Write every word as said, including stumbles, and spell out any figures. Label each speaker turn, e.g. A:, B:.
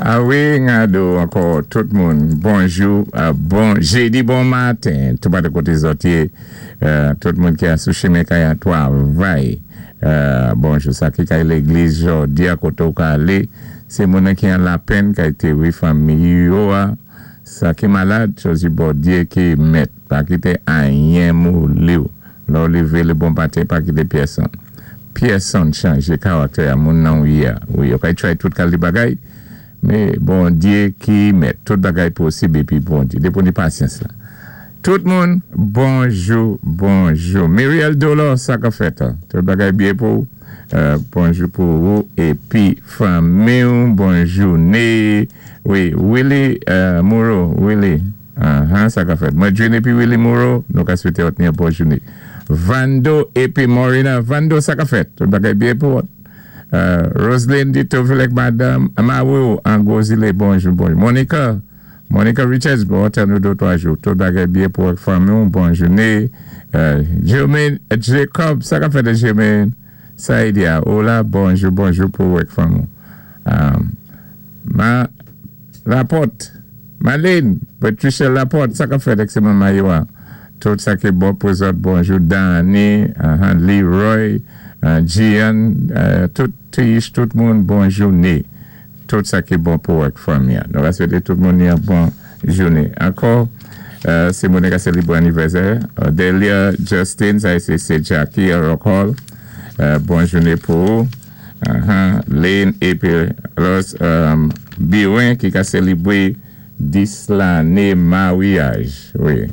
A: A wi, ngado ankò tout moun. Bonjou, bon jédi, bon maten. Tou pa de koté zòt yé, tout moun ki a sou chimen kay a twavay. Bonjou, sa ki kay légliz jòdi a koté ou ka alé, sé moun ki an lapenn kay téwi fanmi yo a, sa ki malad, chwazi Bondyé ki mèt, pa kité anyen mouli ou. Lè ou lévé lé bon maten, pa kité pyèsonn. Pyèsonn chanjé karaktè a moun nan ou yé. Wi, yo kay try tout kalité bagay, mé Bondyé ki mèt, tout bagay posib épi Bondyé. Dépi ou ni pasyans la. Tout moun, bonjou, bonjou. Muriel Dolor, sa ka fèt. Tout bagay byen pou, bonjou pou ou, épi fanmi ou, bonjou né. Wi, Willy Moreau, Willy, sa ka fèt. Mwen jwenn épi Willy Moreau, nou ka swété òt ni bon jouné. Vando épi Morina, Vando, sa ka fèt. Tout bagay byen pou ou. Roselyne Dito Vilek, madame Mawou, an Gozile, bonjou, bonjou. Monica, Monica Richards, bon, tann nou dé twa jou. Tout bagay byen pou ak fanmi ou, bon jouné. Jermaine Jacob, sa ka fèt Jermaine Saïdia, hola, bonjou, bonjou pou ak fanmi ou. Ma Laporte, Marlene, Patricia Laporte, sa ka fèt ek se maman yo a. Tout sa ki bon pou zòt, bonjou. Danny, Leroy, Gian, tout Tish, tout moun, bon jouné. Tout sa ki bon pou ak fanmi. Nou va swété tout moun yon bon jouné. Ankò, sé moun ki sélébré anivèsè. Delia Justin, sa sé Jackie Rock Hall. Bon jouné pou ou. Lane épi Los Biwen ki ka sélébré dis lanné maryaj. Wi.